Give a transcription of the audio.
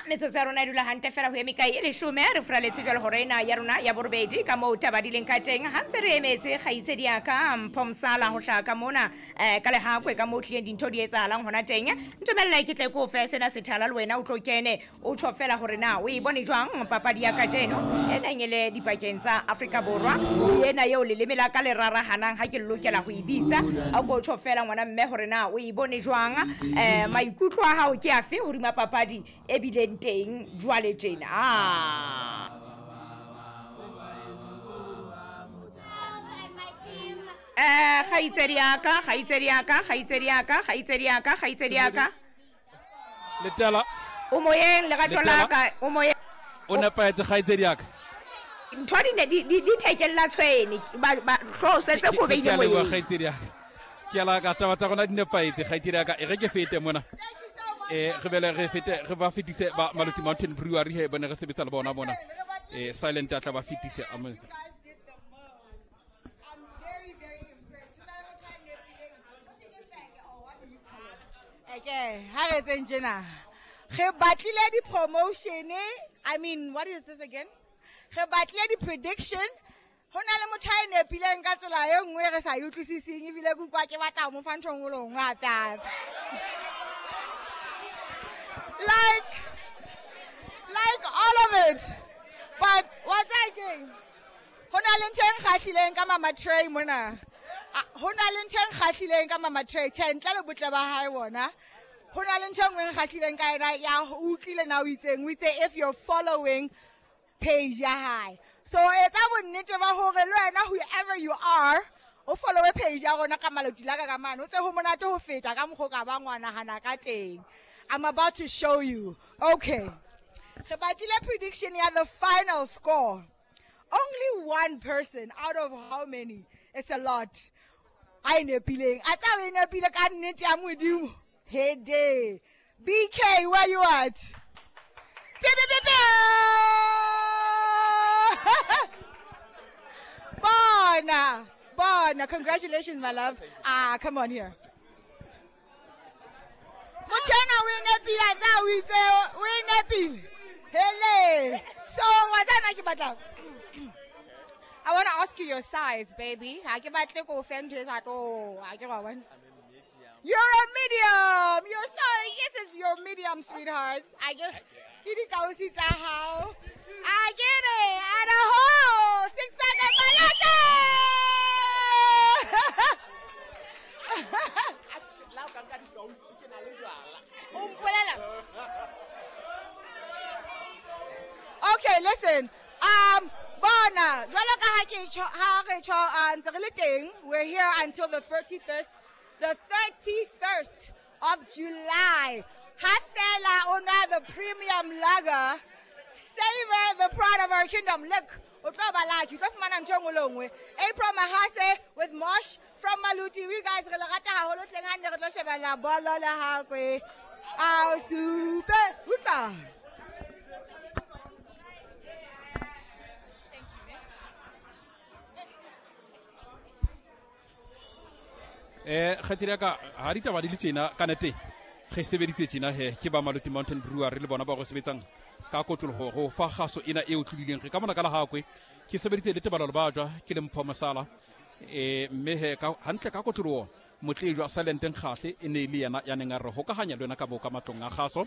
Metsotso ya rona e dula hantle fela ho eme kae e leshome re furaletse jwale hore ena ya rona ya borobedi ka moo taba di leng ka teng. Ha ntse re emetse kgaitsedi ya ka Mpho Mosala ho hlaha ka mona um ka lehakwe ka moo tlileng dintho di etsahalang hona teng. Ntumelle ke tle ke o fe sena sethala le wena o tlo kene o tjho fela hore na o e bone jwang papadi ya kajeno e neng e le dipakeng tsa Afrika Borwa le ena eo leleme la ka le rarahanang ha ke lokela ho e bitsa. A ko tjho fela ngwana mme hore na o e bone jwang, um maikutlo a hao ke afe hodima papadi e bileng teng jwale tjena. Eh, kgaitsedi ya ka, kgaitsedi ya ka, kgaitsedi ya ka, kgaitsedi ya ka, kgaitsedi ya ka. Letela. O moyeng lerato la ka, o moyeng. O nepahetse kgaitsedi ya ka. Ntho di ne di di di thekella tshwene, ba ba hlooho setse ko beile moyeng. Kgaitsedi ya ka. Ke la ka taba tsa rona di nepahetse kgaitsedi ya ka. E re ke fete mona. Eh re bele re fete re ba fetise ba Maluti Mountain Brewery he bone re sebetsa le bona mona. Eh silent a tla ba fetise amen. Okay, ha re etseng tjena. Re batlile di-promotion. I mean, what is this again? Re batlile di-prediction. Ho na le motho a e nepileng ka tsela e nngwe re sa e utlwisiseng ebile ke utlwa ke batla ho mo fa ntho e nngwe le nngwe hape hape. Like all of it. But wa tseba keng? Ho na le ntho e nkgahlileng ka Mama Trey mona. Ho na le ntho e nkgahlileng ka Mama Trey. Tjhe, ntle le botle ba hae bona. Ho na le ntho e nngwe e nkgahlileng ka yena ya o utlwile na o itseng. O itse if you're following page ya hae. So etsa bonnete ba hore le wena whoever you are o followe page ya rona ka Maloti la ka ka mane. O tse ho monate ho feta ka mokgwa o ka bang wa nahana ka teng. I'm about to show you. Okay. Re batlile prediction ya the final score. Only one person out of how many? It's a lot. A e nepileng. A tsa o e nepile ka nnete ya Modimo. Hede. BK, where you at? Pe, pe, pe, pe. Bona. Bona. Congratulations, my love. Ah, come on here. Motho ena o e nepile, a tsa o itse o e nepile. Hele. So, wa tseba ke batla. I want to ask you your size, baby. Ha ke batle ko fe ntho e sa tlo, ha ke wa bona. You're a medium. You're sorry. Yes, it's your medium, sweetheart. I get ke dikausi tsa hao. I get it. And a whole six pack of malate. O mpolela. Okay, listen. Bona, jwalo ka ha ke tjho, ha re tjho, ntse re le teng. We're here until the 31st, the 31st of July. Ha fela o nwa the premium lager, savor the pride of our kingdom. Look, o tlo ba lucky, o tlo fumana ntho e nngwe le nngwe. April Mahase with Mosh from Maluti. We guys re le rata haholo hleng ha nne re tlo shebella bolo le hakwe. Ao supe, utlwa. Eh, kgaitsedi ya ka, ha ditaba di le tjena, ka nete re sebeditse tjena he, ke ba Maluti Mountain Brewery le bona ba go sebetsang ka kotloloho ho fa kgaso ena e o tlodileng. Re ka mona ka Lahakwe, ke sebeditse le Tebalo Lebajwa, ke le Mpho Mosala. Mme he, ka, hantle ka kotloloho, Motlejwa Silent Nkgahle e ne e le yena ya neng a re hokahanya le wena ka moo ka matlong a kgaso.